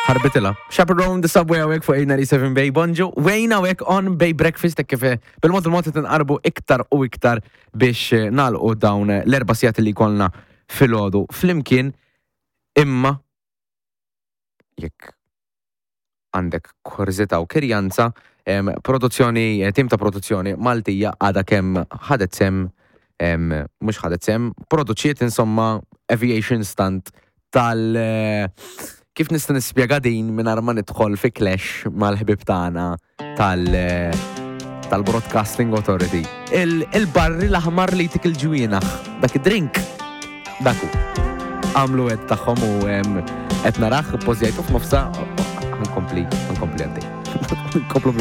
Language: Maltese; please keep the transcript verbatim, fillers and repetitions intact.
Ħarbitilha. Chaperone the Subway hawnhekk fuq eight ninety-seven Bay. Bonġu, Wayne hawnhekk on Bay Breakfast, hekk kif eh, bil-mod il-mod tinqarbu iktar u iktar biex eh, nagħlqu dawn l-erba' sigħat li jkollna filgħodu flimkien, imma jekk għandek kurżità u kirjanza, em, produzzjoni, eh, tim ta' produzzjoni Maltija għada kemm ħadet sehem, em, mhux ħadet sehem, produċiet insomma aviation stunt tal- eh, kif nista' nispjega din mingħajr ma nidħol fi clash mal-ħbib tagħna tal- eh, tal-Broadcasting Authority? Il- Il-barri l-aħmar li jtik il-ġwienaħ, dak id-drink, daku. Għamlu għed tagħhom u em, qed narah pożjajtu f'nofsa, ħa nkompli, ħa nkompli għaddej. Nkomplu.